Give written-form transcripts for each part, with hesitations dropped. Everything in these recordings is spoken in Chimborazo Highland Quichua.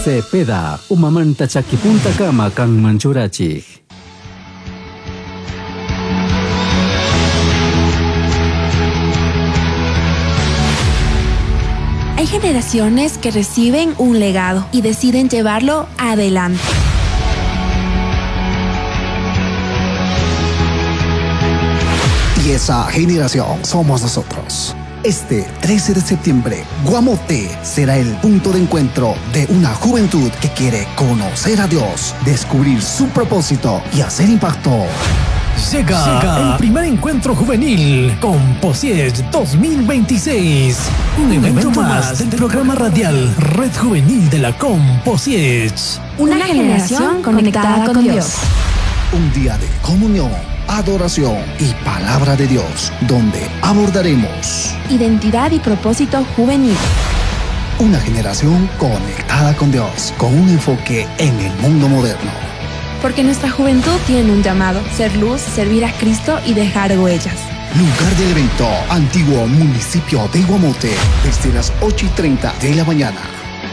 Cepeda, umamanta chakipuntakama kanman churachik. Hay generaciones que reciben un legado y deciden llevarlo adelante. Y esa generación somos nosotros. Este 13 de septiembre, Guamote será el punto de encuentro de una juventud que quiere conocer a Dios, descubrir su propósito y hacer impacto. Llega el primer encuentro juvenil con Posiech 2026. Un evento más del programa radial Red Juvenil de la Composiech. Una generación conectada con Dios. Un día de comunión, adoración y palabra de Dios, donde abordaremos Identidad y propósito juvenil. una generación conectada con Dios, con un enfoque en el mundo moderno. Porque nuestra juventud tiene un llamado, ser luz, servir a Cristo y dejar huellas. Lugar del evento, antiguo municipio de Guamote, desde las 8:30 de la mañana.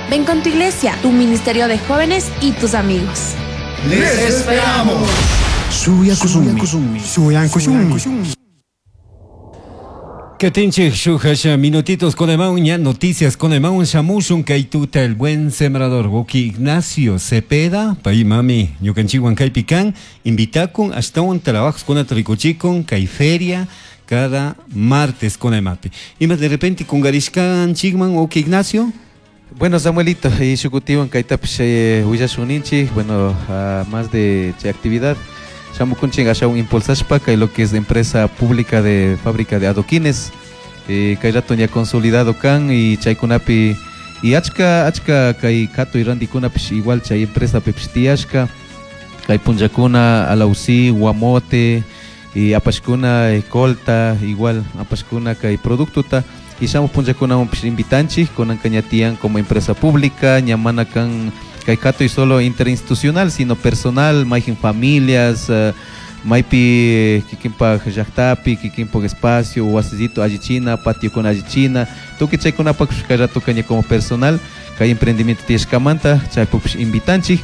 Ven con tu iglesia, tu ministerio de jóvenes y tus amigos. ¡Les esperamos! Shuya Kusumi. Shuyan Kusumi. Katinchik shuhasha minutitos con ña noticias con shamushun kaytuta el buen sembrador Woki Ignacio Cepeda pay mami ñukanchikwan kaypi kan invitakun ashtawan trabajos con rikuchikun kay feria cada martes con emapi. Ima de repente kungarishkan chikman Woki Ignacio. Bueno, Samuelito, y shukutiwan kaytapish willashun bueno, más de chay actividad. Shamukunchik ashawan impulsashpa kay lo que es de empresa pública de fábrica de adoquines, kay rato ña consolidado kan y chaykunapi y achka achka kay katuy rantikunapish igual chay empresa pipish tiyashka kay punllakuna Alausi, Guamote y apashkuna colta igual apashkuna kay productota y shamuj punllakunawanpish invitanchik kunanka ña tiyan como empresa pública ña mana kan kay katuy solo interinstitucional sino personal mayjin familias maypi kikinpak llaktapi kikinpak espacio wasillito allichina patiokuna allichina tukuy chaykunapak kay ratoka ña como personal kay emprendimiento tiyashkamanta chaypukpish invitanchik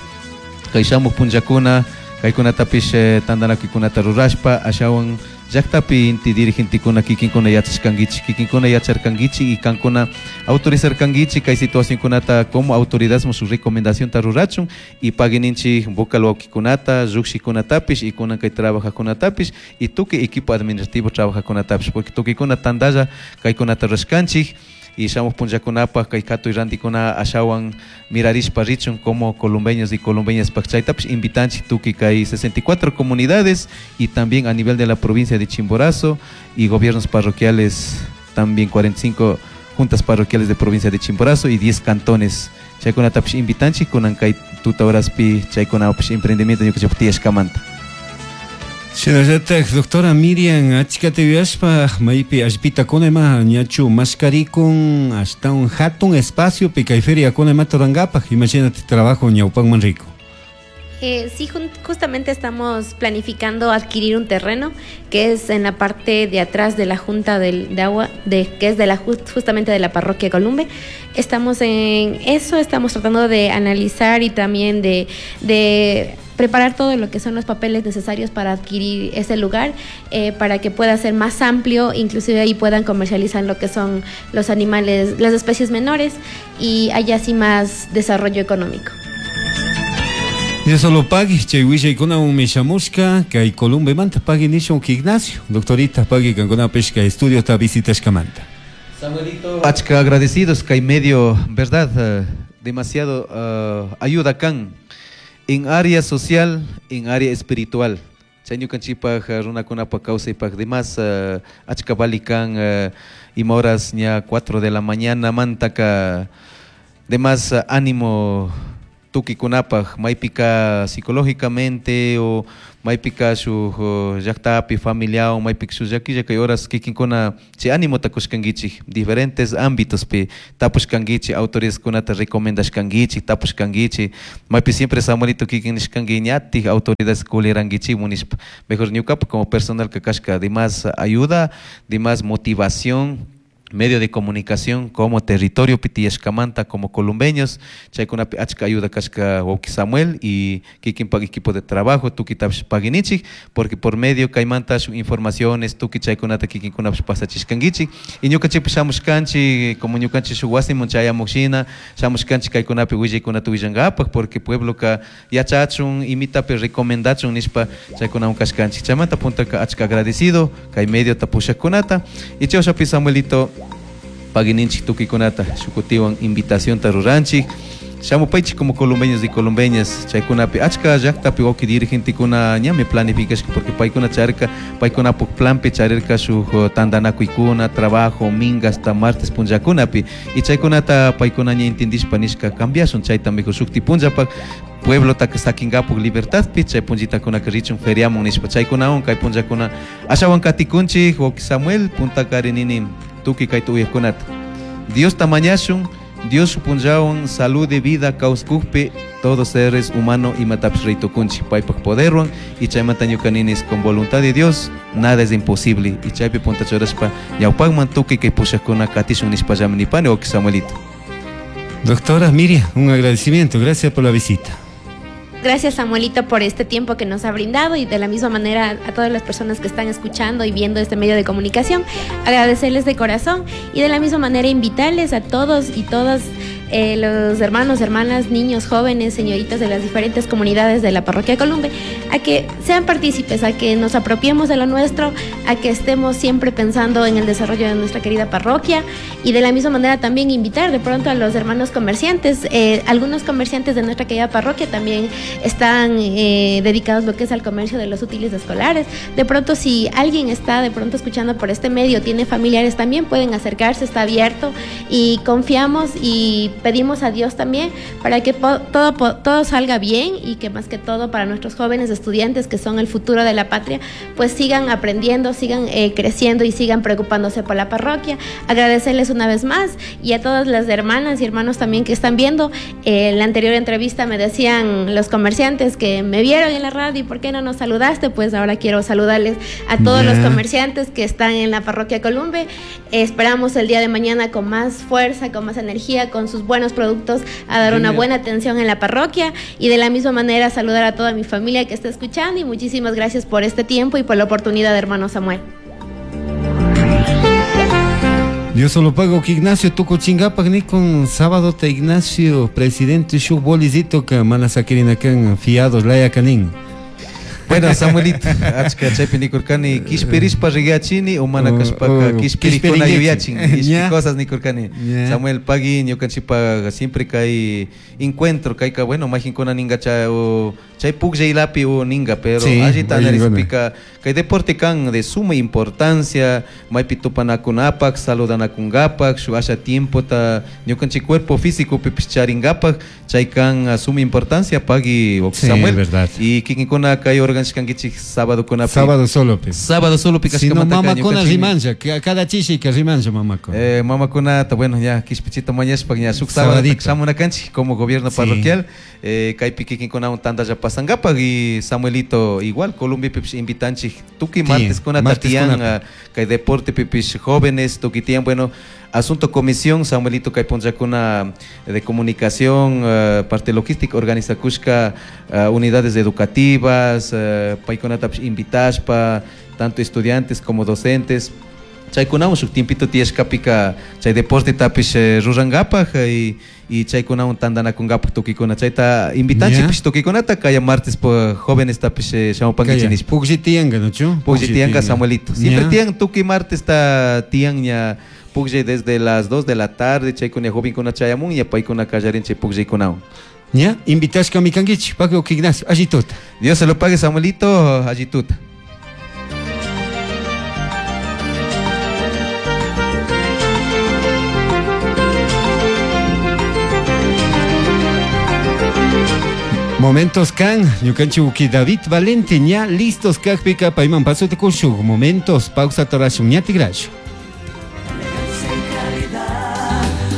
kay shamuj punllakuna kaykunatapish tantanakuykunata rurashpa ashawan llaktapi inti dirigentekuna kikinkuna yachashkankichik kikinkuna yacharkankichik y kankuna autorizarkankichik kay situacionkunata como autoridad shuk recomendacionta rurachun y paguininchik vocal wawkikunata llukshikunatapish y kunan kay trabajajkunatapish y tukuy equipo administrativo trabajajkunatapish porque tukuykuna tantalla kaykunata rurashkanchik y shamuj punllakunapaj kay katuy rantikuna ashawan mirarishpa richun como columbeños y columbeñas paj chaytapish invitanchik tukuy kay 64 comunidades y también a nivel de la provincia de Chimborazo y gobiernos parroquiales también 45 juntas parroquiales de provincia de Chimborazo y 10 cantones. Chaykunatapish invitanchik kunan kay tuta horaspi chaykunapish emprendimiento ñukanchikpa tiyashkamanta. Shinallatak doctora Miriam achkata yuyashpa maypi allpita kunema ñachu mashkarikun ashtawan hatun espacio pi kay feria kunemata rurankapaj imashinati trabajo ñawpanman rico. Sí, justamente estamos planificando adquirir un terreno que es en la parte de atrás de la Junta de Agua, que es de la justamente de la parroquia Columbe. Estamos en eso, estamos tratando de analizar y también de preparar todo lo que son los papeles necesarios para adquirir ese lugar, para que pueda ser más amplio, inclusive ahí puedan comercializar lo que son los animales, las especies menores y haya así más desarrollo económico. Y solo pagui, chay willaykunawan mishamushka, kay Columbemanta pagui nishun Ignacio, doctorita pagui kankuna pishka estudio ta visitashkamanta. Samuelito, achka agradecidos kay medio, verdad, demasiado ayuda kan en área social, en área espiritual. Chay ñukanchikpaj runakunapaj kawsaypaj demás achka valikan ima horas ña 4 de la mañana mantaka demás ánimo tukikunapaj maypika psicológicamente o maypika shuk llaktapi familiawan maypika shuk llakilla kay horas kikinkuna chay ánimota kushkankichik diferentes ámbitos pi tapushkankichik autoridadkunata recomendashkankichik tapushkankichik maypi siempre Samuelito kikin nishkanki ñatik autoridades kulirankichikmun nishpa mejor ñukapa como personal kashka demás ayuda demás motivación. Medio de comunicación como territorio tiyashkamanta como columbeños chaykunapi achka ayuda kashka wawki Samuel y kikinpak equipo de trabajo tukitapish paginichik porque por medio kaymanta shuk informaciones tukuy chaykunata kikinkunapish pasachishkankichik y ñukanchikpish shamushkanchik como ñukanchik shuk wasiman chayamushina shamushkanchik kaykunapi willaykunata willankapak porque puebloka yachachun imitapi recomendachun nishpa chaykunawan kashkanchik chaymanta puntaka achka agradecido kay mediota pushakkunata y chayshapi Samuelito pagininchik tukuykunata shukutiwan invitacionta ruranchik shamupaychik como columbeños y columbeñas chaykunapi achka llaktapi wawki dirigentekuna ñami planificashka porque paykuna charirka paykunapuk planpi charirka shuk tantanakuykuna trabajo minga hasta martes punllakunapi y chaykunata paykuna ña entendishpa nishka cambiashun chayta mejor shukti punllapak pueblotaka sakinkapuk libertadpi chay punllitakunaka richun feriamun nishpa chaykunawan kay punllakuna ashawan katikunchik wawki Samuel puntakari nini tukuy kayta uyaqkunata Diosta mañashun Dios punllawan salud de vida kawsakukpi todos seres humano imatapish raytukunchik paypak poderwan y chaymanta ñuka ninis con voluntad de Dios nada es imposible y chaypi punta churashpa ñawpakman tukuy kay pushakuna katishun nishpallami nipani wawki Samuelito. Doctora Miriam, un agradecimiento, gracias por la visita. Gracias, Samuelito, por este tiempo que nos ha brindado y de la misma manera a todas las personas que están escuchando y viendo este medio de comunicación, agradecerles de corazón y de la misma manera invitarles a todos y todas los hermanos, hermanas, niños, jóvenes, señoritas de las diferentes comunidades de la parroquia Columbe, a que sean partícipes, a que nos apropiemos de lo nuestro, a que estemos siempre pensando en el desarrollo de nuestra querida parroquia y de la misma manera también invitar de pronto a los hermanos comerciantes. Algunos comerciantes de nuestra querida parroquia también están dedicados lo que es al comercio de los útiles escolares. De pronto, si alguien está de pronto escuchando por este medio, tiene familiares también, pueden acercarse, está abierto y confiamos y pedimos a Dios también para que todo salga bien y que más que todo para nuestros jóvenes estudiantes que son el futuro de la patria, pues sigan aprendiendo, sigan creciendo y sigan preocupándose por la parroquia. Agradecerles una vez más y a todas las hermanas y hermanos también que están viendo. En la anterior entrevista me decían los comerciantes que me vieron en la radio y ¿por qué no nos saludaste? Pues ahora quiero saludarles a todos los comerciantes que están en la parroquia Columbe. Esperamos el día de mañana con más fuerza, con más energía, con sus buenos productos, a dar una buena atención en la parroquia y de la misma manera saludar a toda mi familia que está escuchando y muchísimas gracias por este tiempo y por la oportunidad, hermano Samuel. Dios solo pago que Ignacio tukuchingapak ni con sábado te Ignacio presidente shu bolizito que mana saquirina kan fiados laya kanin. Bueno, Samuelito, achka chaypi nikurkani kishpirishpa rigachini o mana kashpaka kishpirikuna yuyachin, ishki cosas nikurkani. Samuel pagui ñukanchikpa siempre kay encuentro kayka bueno majinkuna ninga chay o chay pukllaylapi o ninga, pero sí, allita analizpika kay deporte kan de suma importancia, maypi tupanakunapak, saludanakungapak, shu asha tiempo ta ñukanchik cuerpo físico pipish charingapak, chay kan suma importancia pagui sí, Samuel. Verdad. Y kikinkuna kay organizkankichik sábado kunapi. Sábado solo pe. Sábado solo pi si no mamakuna rimancha, cada chishi que rimancha mamakuna. Mamakuna ta bueno ya kishpichita mañashpak ña shuk sábado shamunakanchik como gobierno parroquial, kaypi kikinkunawan tantalla pasangapak y Samuelito igual Colombia pipish invitanchik tukuy martes kunata tiyan kay deporte pipish jóvenes tukuy tiyan bueno asunto comisión Samuelito kay punllakuna de comunicación parte logística organizakushka unidades educativas paykunatapish invitashpa tanto estudiantes como docentes chaykunawan shuk tiempito tiyashkapika chay deporte tapish rurankapak y chaykunawan tantanakunkapak tukuykuna chayta invitanchikpish tukuykunata kaya martes po jóvenes tapish shamupankichik nishpa. Puklli tiyanka nochu? Puklli tiyanka Samuelito. Siempre tiyan tukuy martes ta tiyan ña pukllay desde las 2 de la tarde chaykuna jovenkuna chayamun ña paykuna kallarin chay pukllaykunawan. Ña invitashka mikankichik Paco Ignacio allituta. Dios se lo pague Samuelito allituta. Momentos kan, ñukanchik David Valente ña listos kakpika payman paso tikushuk momentos pausa torashun ña tigrashu.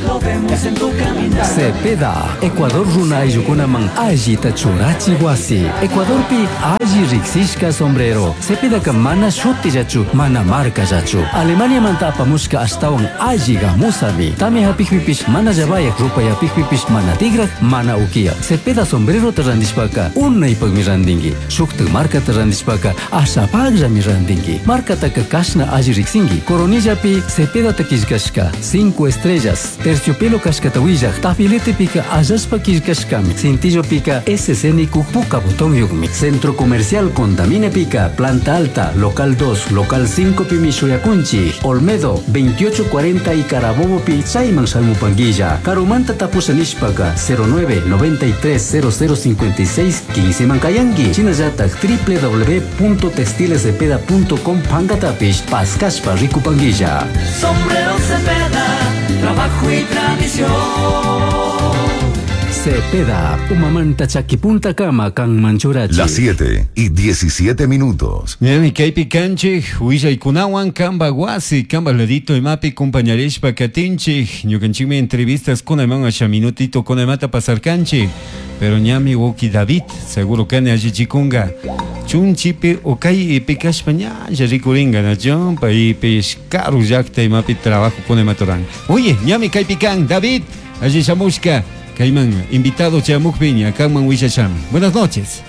Lo vemos en tu caminar. Cepeda, Ecuador runa ayllukunaman allita churachi wasi. Ecuadorpi alli riksishka sombrero. Cepedaka mana shutillachu, mana markallachu. Alemaniamanta apamushka ashtawan alli gamusami. Tamia hapikpipish mana llavayak, rupay hapikpipish mana tigrak, mana ukiyak. Cepeda sombrerota randishpaka unaypakmi randinki. Shuktak markata randishpaka ashapakllami randinki. Markataka kashna alli riksinki. Coronillapi Cepedata killkashka, 5 estrellas, terciopelo kashkata willak, tafiletepika allashpa killkashkami. Cintillopika SC nikuk puka botonyukmi. Centro Comercial Contaminepika, Planta Alta, Local 2, Local 5 pimi shuyakunchik. Olmedo, 2840 y Carabobo pi chayman shamupanguilla. Karumanta tapusha nishpaka 09 93 0056 15 mankayanki. Shinallatak www.textilescepeda.com pankatapish paskashpa rikupanguilla. Sombrero Cepeda, trabajo y tradición. Cepeda, umamanta chakipunta kama kanman churachi. Las 7 y 17 minutos. Ñami kaypi kanchik willaykunawan kamba wasi kamba ladito imapi compañarishpa katinchik ñukanchikmi entrevistas kunayman asha minutito kunaymata pasarkanchik pero ñami wawki David seguro kani allichikunga chunchipi o kay pikashpa ñalla rikuringa nacho paypish karu llakta imapi trabajo kunaymaturan. Oye, ñami kaypi kan David alli shamushka kayman invitado chamukpi ña kanman willashami. Buenas noches.